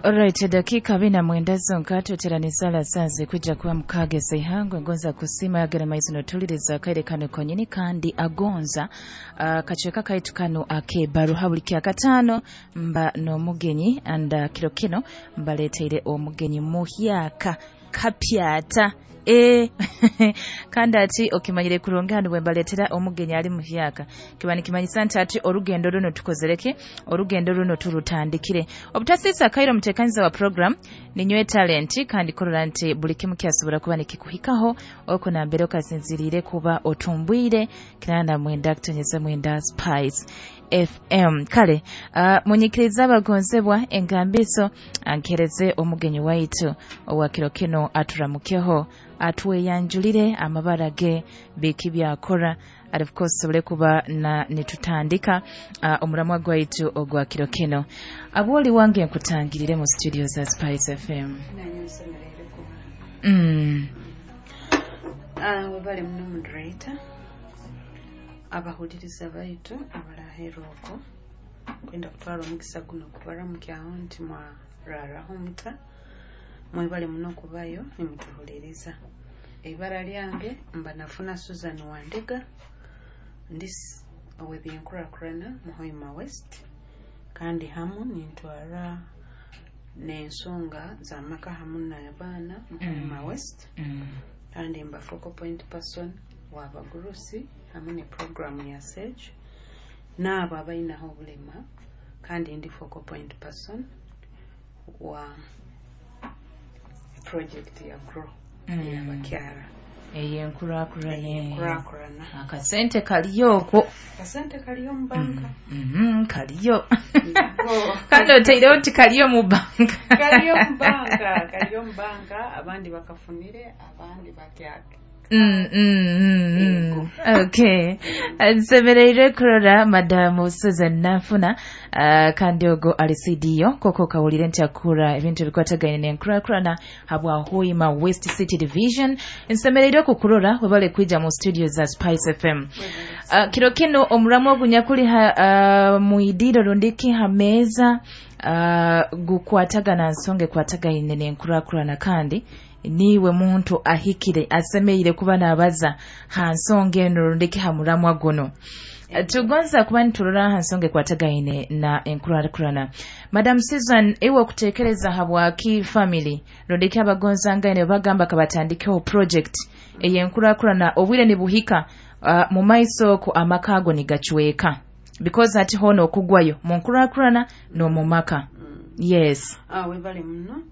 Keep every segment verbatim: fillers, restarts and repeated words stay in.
Alright, dakiika bina mwenda zonka tweteraniza lasanze kwijja kuba mukaaga ez'eihangwe. Ngonza kusiima yagera maizi notuliriza akaire kano konyini, kandi agonza uh, kacweka kaitu kano ak'ebaruha buli kyakataano mba n'omugenyi, and uh, kiro kino mbaleteire omugenyi muhyaka kapyata. E kandi ati okimanyire kurungi hano bwe mbaleetera omugenyi ali muhyaka, kiba nikimanyisa nti ati orugendo runo tukozereke, orugendo runo turutandikire. Obutasiisa akaire, omuteekaniza wa program ninywe Talenti, kandi kurora nti buli kimu kyasobora kuba nikikuhikaho oko nambere okasinziriire kuba otumbwire kinana mwenda kutonyeza mwenda Spice F M. Kale uh, munyikiriza abagonzebwa engambiso ankereze omugenyi waitu owa kiro kino aturamukeho, atweyanjulire amabara ge, biki byakora, and of course sobole kuba na nitutandika uh, omuramwa gwaitu ogwa kiro kino. Abwoli wange, nkutangirire mu studio za Spice F M. Nanye nsemereire kuba. mm. Ah, webale muno, moderator, abahuliriza baitu abalaheera okwo. Kwenda kutwara omukisa guno kubaramukyaho nti mwararaho muta? Mwebale muno kubayo nimutuhuliriza. Eibara lyange mba Nafuna Susan Wandega, ndi s- ow'ebyenkurakurana mu Hoima West, kandi hamu nintwara n'ensonga z'amaka hamu n'abaana mu Hoima West, Mm. kandi mba focal point person w'abagurusi hamwe ne programu ya SAGE n'abo abalinaho obulema, kandi ndi focal point person wa project ya GROW Mm. ey'abakyala. Ey'enkurakurana. Ey'enkurakurana. Akasente kaliyo okwo. Akasente kaliyo mu banka. mm kaliyo Nako. Kandi oteireho nti kaliyo mu banka. Kaliyo mu banka, kaliyo mu banka. Abandi bakafunire, abandi bakyake. Mm, mm, mm, mm. Yego. Okay, nsemereire kurora Madamu Susan Nafuna, uh, kandi ogo ali C D O, koko kawulire nti akura ebintu ebikwatagaine n'enkurakurana habwa Hoima West City Division. Nsemereire okukurora, webale kwija mu studio za Spice F M. uh, kiro kino omuramu ogunyakuli ha, uh, muidiro rundiki ha meeza uh, gukwatagana nsonga ekwatagaine n'enkurakurana, kandi niiwe muntu ahikire asemeire kuba nabaza ha nsonga eno rundiki ha muramwa guno. Tugonza kuba niturora ha nsonga ekwatagaine na enkurakurana. Madam Susan, iwe okutekereza, habwaki family rundiki abagonzangaine bagamba kabatandikeho project ey'enkurakurana, obwire nibuhika uh, mu maiso okwo amaka ago nigacweka, because hati hoona okugwayo mu nkurakurana n'omu maka? Yes. Ah, webale muno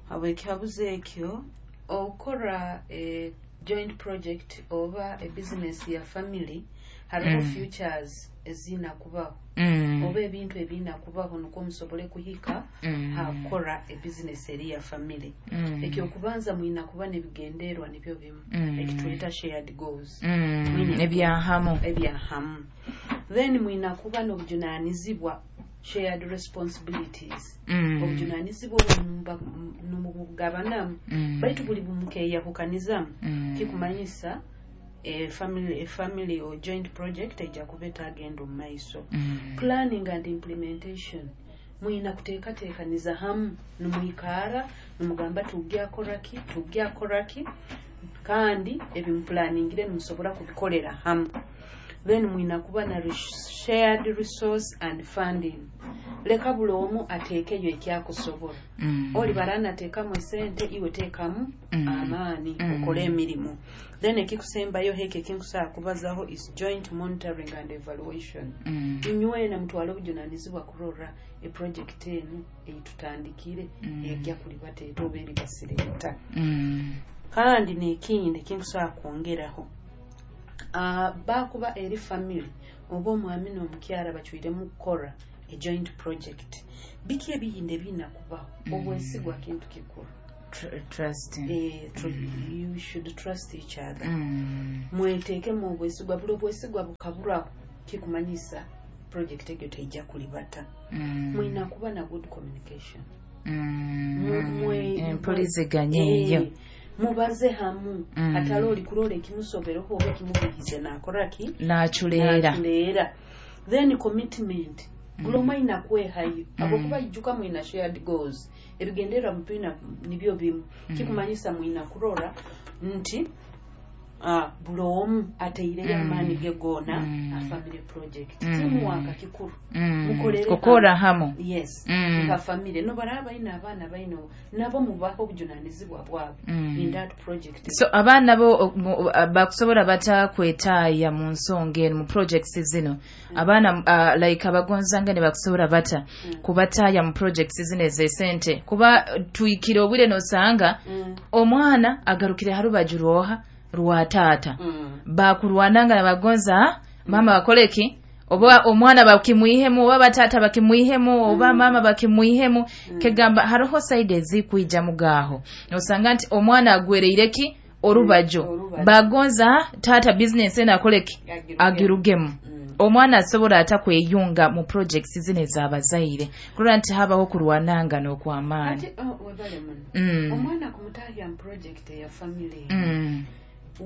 habw'ekihabuzo ekyo. Okora e joint project oba e business ya family, hariho Mm. futures ezina kubaho mm. oba ebintu ebirina kubaho nukwo musobole kuhika Mm. hakora e business eri ya family. Mm. Ekyokubanza, mwina kuba nebigenderwa nibyo bimu, Mm. ekitweta shared goals. Mm. Mwine- ebyahamu. Ebyahamu. Then mwina kuba n'obujunanizibwa, shared responsibilities. Mm. Obujunanizibwa obwo mumba- nimubugabanamu, Mm. baitu buli bumukeyahukanizamu, Mm. kikumanyisa e family, e family or joint project ejja kuba etagenda omu maiso. Mm. Planning and implementation, mwina kuteekateekaniza hamu, nimwikaara nimugamba tugyakoraki, tugyakoraki, kandi ebimuplaningire nimusobora kubikolera hamu. Then mwina kuba na res- shared resource and funding. Leka buli omu ateekeyo ekyakusobola. Mm. Oli baranateekamu esente, iwe teekamu Mm. amaani, Mm. okole emirimu. Then ekikusembayo heke ekinkusobola kubazaho is joint monitoring and evaluation. Mm. Inywena mutwale obujunanizibwa kurora eproject enu eyitutandikire Mm. ejja kulibateeta oba eribasireeta. Mm. Kandi nekindi ekinkusobola kwongeraho, uh, bakuba eri family oba omwami n'omukyala bacwiremu kukora a joint project, biki ebiyindi ebirina kubaho? Mm. Obwesigwa kintu kikuru. Tr- trust Eh, tr- you should trust each other. Mm. Mweteekemu obwesigwa. Buli obwesigwa bukaburaho, kikumanyisa project egyo teijja kulibata. Mm. Mwina kuba na good communication. Mm. Mu- mwe- empuliziganya eyo. Eh, mubaze hamu. Mm. Atali oli kulola ekimusobereho oba ekimubuhize nakoraki? Naculeera. Naculeera. Then commitment. Buli omwe aina kwehayo habwokuba ijuka mwina shared goals, ebigendererwa mutwina nibyo bimu. Kikumanyisa mwina kurora nti uh, buli omu ateireyo amaani ge goona Mm. a family project. Mm. Teamwork kikuru. Mm. Mukorere Kukora hamu. Yes. Mm. Nka family nobaraba baina abaana baino nabo mubaho obujunanizibwa bwabwe Mm. in that project. So abaana bo mu- bakusobola batakwetaaya mu nsonga eno, mu projects zino? Abaana uh, like abagonzanga ne bakusobola bata kubataaya mu projects zino ez'esente? Kuba tuyikire obwire nosanga Mm. omwana agarukire harubaju rwoha rwa taata. Mm. Bakurwananga nabagonza, "Ah, mama bakoleki?" Oba omwana bakimwihemu, oba bataata bakimwihemu, oba mama bakimwihemu. Kegamba hariho side ezikwijja mugaaho nosanga nti omwana agwereireki orubajo. Orubajo. Bagonza, "Ah, taata bizinesi eno akoleki?" Agirugemu. Agirugemu. Mm. Omwana asobola ata kweyunga mu projects zino ez'abazaire kulwa nti habaho kurwananga n'okwamaani? Ate oh, webale muno. Mm. Omwana kumutahya mu project eya family, Mm.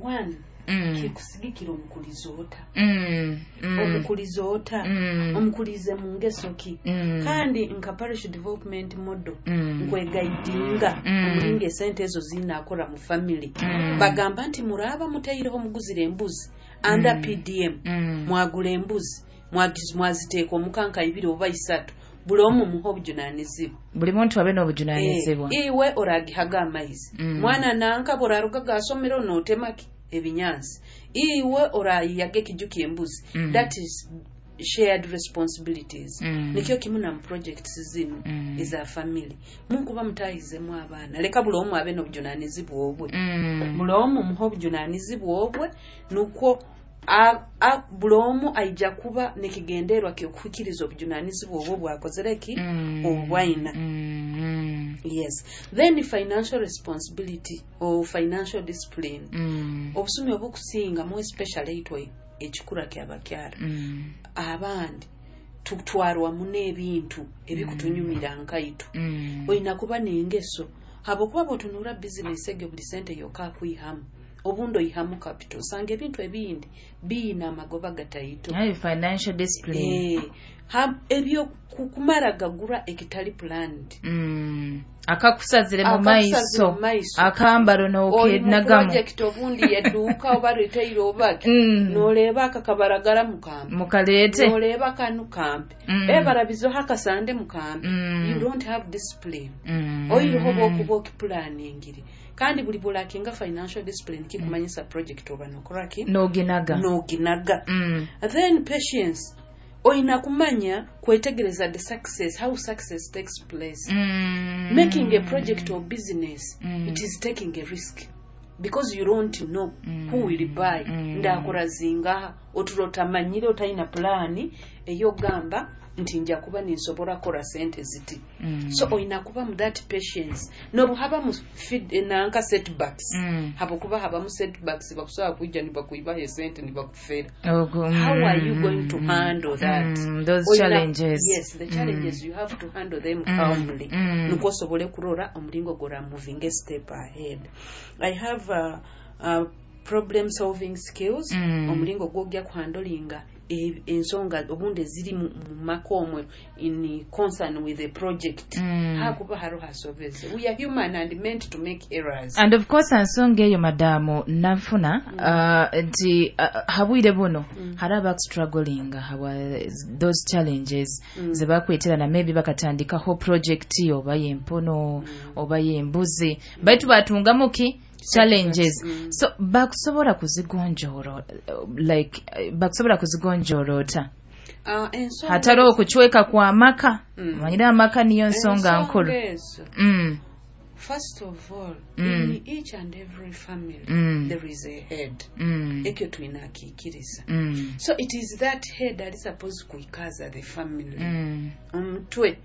one, Mm. kikusigikira omukuliza ota. Mm. Mm. Omukuliza ota? Mm. Omukulize mu ngeso ki? Mm. Kandi nka parish development model Mm. nkwegaidinga Mm. omulinga esente ezo zinakora mu family. Mm. Bagamba nti muraba mutaireho muguzire embuzi under P D M, Mm. mwagula embuzi, mwagiz- mwaziteeka omukanka ibiri oba isatu, buli omu muha obujunanizibwa. Buli muntu abe n'obujunanizibwa. Eh, iwe oragihaga amaizi, Mm. mwana nanka boraruga gasomero notemaki ebinyansi, iwe orayiyaga ekiju kyembuzi. Mm. That is shared responsibilities. Mm. Nikyo kimu na mu projects zino Mm. eza family. Munkuba mutayizemu abaana, leka buli omu abe n'obujunanizibwa obwe. Mm. Buli omu muha obujunanizibwa obwe, nukwo a- a- buli omu aija kuba nekigenderwa kyokuhikiriza obujunanizibwa obwo bwakozere ki, Mm. obwaina. Mm. Yes, then financial responsibility or financial discipline. Mm. Obusumi obukusinga mu especially itwe ekikura kyabakyala, Mm. abandi tutwarwamu n'ebintu ebikutunyumira nkaitu. Mm. Olina kuba n'engeso habwokuba bwotunura bizinesi egyo, buli sente yokka akwihamu, obundi oyihamu capital, osanga ebintu ebindi biina amagoba gataito. Aye, financial discipline. Eh, ha- ebyo ku- kumara gagura ekitali planned. Mm. Akakusazire mu Akakusazire maiso. Mu maiso. Akambaro Oli mu n'okenagamu. Project obundi yedduuka oba retail obaki, Mm. noleeba akakabaragara mukampe, Mukaleete. Noleeba kanu kampe, Mm. ebarabizoho akasande mukampe. Mm. You don't have discipline. Mm. Oyireho bwokuba okiplaningire, kandi buli bwolakinga financial discipline kikumanyisa project oba nokoraki? N'oginaga. Noginaga. Mm. Then patience. Oyina kumanya kwetegereza the success, how success takes place. Mm. Making a project or business, Mm. it is taking a risk because you don't know Mm. who will buy. Mm. Ndakora zingaha oturo otamanyire, otayina pulaani eyogamba nti nja kuba ninsobola kora sente ziti. Mm. So oyina kuba mu that patience nobuhaba mu feed- nanka setbacks, Mm. habwokuba habamu setbacks, bakusobola kwijja nibakuibaho esente nibakufera. Ogo- How are you mm, going to mm, handle that? Mm, those Oyina- challenges. Yes, the challenges, you have to handle them Mm. calmly, Mm. nukwo osobole kurora omulingo gora moving a step ahead. I have uh, uh, problem solving skills. Mm. Omulingo gwojja kuhandolinga e- ensonga obundi eziri mu mu maka omwe in concern with the project. Mm. Hakuba hariho hasobeze, we are human and meant to make errors. And of course ensonga eyo, madamu Nanfuna, uh, nti uh, habwire buno hari abakustrugglinga habwa those challenges Mm. zebakweterana, maybe bakatandikaho project oba yempono oba yembuzi, baitu batungamu ki challenges. Mm. So bakusobola kuzigonjoora, uh, like uh, bakusobola kuzigonjoora ota Uh, ensonga hatari okucweka kwa maka? Mm. Manyire amaka niyo nsonga nkulu. Ezo, mm. first of all, Mm. in each and every family Mm. there is a head. Mm. Ekyo tulina akiikiriza. Mm. So it is that head ali supposed kuikaza the family. Mm. Omutwe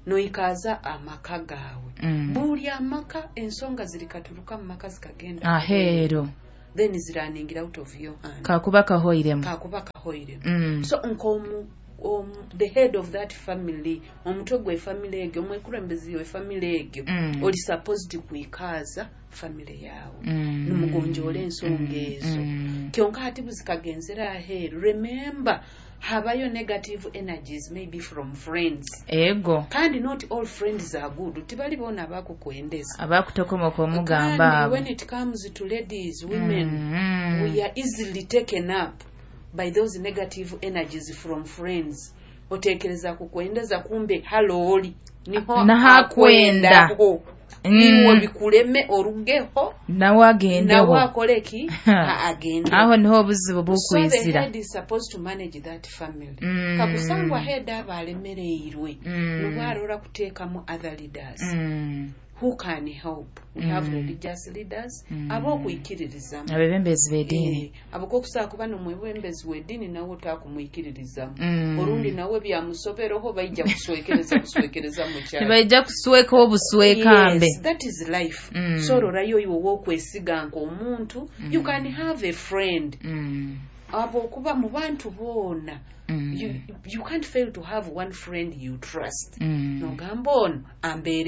noikaza amaka gaawe. Mm. Buli amaka ensonga zirikaturuka mu maka zikagenda aheeru, then ziraningira out of your hand. Kakuba kahoiremu. Kakuba kahoiremu. Mm. So nkomu um, the head of that family, omutwe gwe family egyo, omwekulembezi we family egyo, Mm. oli supposed kuikaza family yawe, Mm. nimugonjoola ensonga ezo. Mm. Kyonka ati buzikagenzera aheeru, remember Habayo negative energies, maybe from friends. Ego. Kandi not all friends are good, tibali boona abakukwendeza. Abakutokomoka omugamba. Kandi abo. When it comes to ladies, women, Mm. we are easily taken up by those negative energies from friends. Otekereza kukwendeza, kumbe halooli niho Naho akwenda. akwendaho. Mm. Iwe bikuleme orugeho. Nawe agendeho. Nawe akole ki? Agende. Aho niho obuzibu So the bukwizira. Head is supposed to manage that family. Mm. Kakusangwa head aba alemereirwe, Mm. nubwo arora kuteekamu other leaders Mm. who can help. We have Mm. religious leaders Mm. ab'okwikiririzamu. Abebembezi b'eddiini. Eh, abo kokusobola kuba nomwebembezi w'eddiini nawe otakumwikiririzamu, Mm. olundi nawe byamusobereho, baija kuswekereza buswekereza mukyalo. Nibaija kusweka obuswekambe. Yes, that is life. Mm. So ororayo iwe wokwesiga nk'omuntu. You can have a friend, Mm. abo okuba mu bantu boona, Mm. you, you can't fail to have one friend you trust. Mm. Nogamba ono ambeere.